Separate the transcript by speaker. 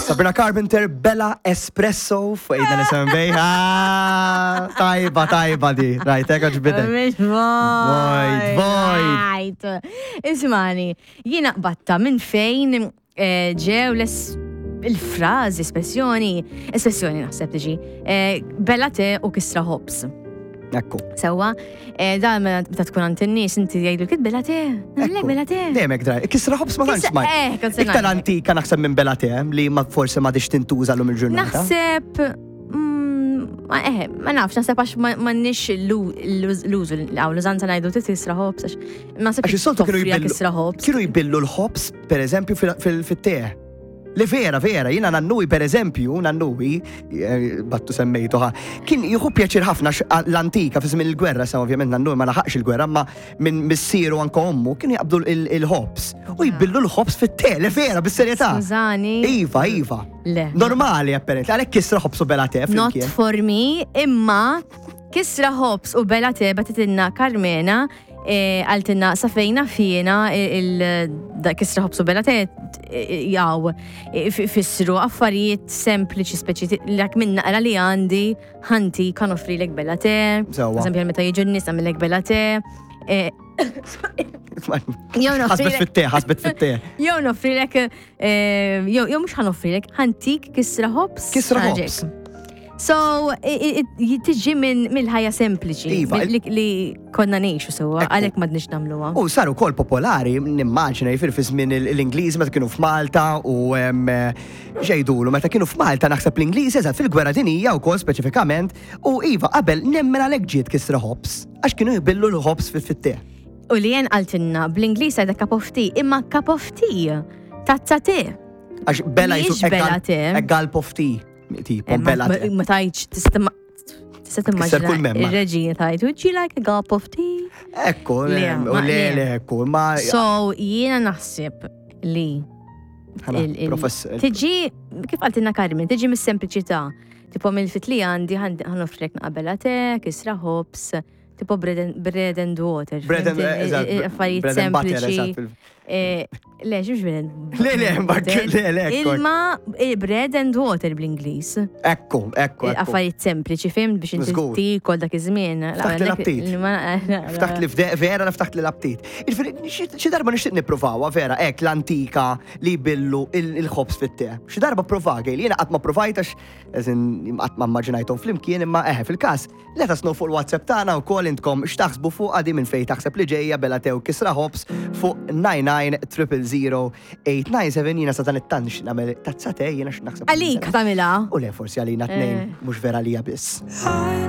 Speaker 1: Sabrina Carpenter, Bella Espresso, fuq ejna nisem bejħa. Tajba, tajba di. Rajt, eko ġbidek.
Speaker 2: Mhix
Speaker 1: Vojt, vojt.
Speaker 2: vojt. Ismani, jiena qbatta minn fejn eh, ġew les il-frażi, espressjoni, espressjoni naħseb tiġi, eh, bella te u kisra ħobs.
Speaker 1: Ekku.
Speaker 2: Sewwa, eh, dan meta tkun għand in-nies inti jgħidu kit bella te, nagħmlek bella te.
Speaker 1: Dejjem hekk draj. Kisra ħobs ma tantx smajt.
Speaker 2: Eh, kont se
Speaker 1: Iktar
Speaker 2: ngħidlek.
Speaker 1: antika naħseb minn bella te li ma forsi ma dix tintuża l-lum il-ġurnata.
Speaker 2: Naħseb, ma eh, ma nafx, naħseb għax ma nix l-użu, għaw l-użanza ngħidu tisra ħobs, għax naħseb
Speaker 1: Għax is-soltu kienu
Speaker 2: toffrija
Speaker 1: jbillu.
Speaker 2: kisra ħobs.
Speaker 1: Kienu jbillu l-ħobs, per eżempju, fil-te. Li vera, vera, jina nannuwi, per eżempju, nannuwi, battu semmejtu ħa, kien jieħu pjaċir ħafna l-antika fi żmien il-gwerra, sa ovvjament nannuwi ma laħaqx il-gwerra, ma minn missieru anke ommu kienu jaqbdu il-ħobs u jbillu l-ħobs fit-te, li vera, bis-serjetà.
Speaker 2: Skużani.
Speaker 1: Iva, iva.
Speaker 2: Le.
Speaker 1: Normali, apparently, għalhekk kisra ħobs u bela te
Speaker 2: Not
Speaker 1: flimkien.
Speaker 2: for me, imma kisra ħobs u bela te bagħtitilna Carmena għaltinna sa fejna fjena il kisra ħobs u bela te jaw fissru affarijiet sempliċi speċi l minn naqra li għandi ħanti kan offrilek bela te.
Speaker 1: Sewwa.
Speaker 2: Eżempju, meta jiġu n-nies għamillek bela te. Jew
Speaker 1: Ħasbet
Speaker 2: noffrilek
Speaker 1: fit-te, ħasbet fit-te.
Speaker 2: jew noffrilek jew mhux ħa noffrilek ħantik kisra ħobs.
Speaker 1: Kisra
Speaker 2: ħaġek.
Speaker 1: ħobs.
Speaker 2: So, tiġi minn mill-ħajja sempliċi
Speaker 1: Iva,
Speaker 2: li konna ngħixu sewwa,
Speaker 1: Ekku.
Speaker 2: għalhekk m'għadniex nagħmluha.
Speaker 1: U saru kol popolari, nimmaġina, jifir fi żmien l-Ingliż meta kienu f'Malta u xejdulu, meta kienu f'Malta naħseb l-Ingliż eżatt fil-gwerra dinija u kol speċifikament, u iva qabel nemmen għalhekk ġiet kisra ħobs, għax kienu jbillu l-ħobs fit-te.
Speaker 2: U li jen qaltilna bl-Ingliż għajda cup of tea, imma cup of tea, tazza te.
Speaker 1: Għax bella
Speaker 2: Mhijiex
Speaker 1: jisu
Speaker 2: bella te.
Speaker 1: a gulp of tea, tipo
Speaker 2: Eh,
Speaker 1: bella te.
Speaker 2: Ma tajċ, tista' tista' timmaġina
Speaker 1: kull memma.
Speaker 2: ir-reġina tajt, would you like a gulp of tea?
Speaker 1: Ekku,
Speaker 2: Le,
Speaker 1: u
Speaker 2: ma-
Speaker 1: le,
Speaker 2: le.
Speaker 1: le, ekku, ma.
Speaker 2: So, jiena naħseb li
Speaker 1: Ħana, professor.
Speaker 2: Tiġi, kif qaltilna Carmen, tiġi mis-sempliċità. Tipo mill-fit li għandi ħa noffrilek naqbela te, kisra ħobs, tipo bread and water.
Speaker 1: Bread and,
Speaker 2: fhimt?
Speaker 1: eżatt,
Speaker 2: Affarijiet
Speaker 1: bread and butter,
Speaker 2: sempliċi.
Speaker 1: eżatt.
Speaker 2: Le, ximx bread and
Speaker 1: Le, le, ma-
Speaker 2: butter.
Speaker 1: le, le, ekku.
Speaker 2: Ilma, bread and water bl-Ingliż.
Speaker 1: Ekku, ekku, ekku.
Speaker 2: Affarijiet sempliċi, fhimt biex inti
Speaker 1: Żgur.
Speaker 2: tikol dak iż-żmien.
Speaker 1: Ftaħt li l-aptit. Ftaħt li vera ftaħt li l-aptit. Jiġifieri, xi darba nixtieq nippruvawa vera hekk l-antika li jbillu il-ħobs fit-te. Xi darba prova li jiena qatt ma provajt għax eżin qatt ma immaġinajthom flimkien imma eħe fil-każ let us know fuq il-WhatsApp tagħna wkoll intkom x'taħsbu fuq għadi minn fejn taħseb li ġejja bela te u kisra ħobs fuq 99 000 897 jiena sa dan it-tant nixtieq nagħmel tazza te jiena x'naħseb.
Speaker 2: Għalik tagħmilha.
Speaker 1: U le forsi għalina tnejn mhux vera lija biss.
Speaker 3: I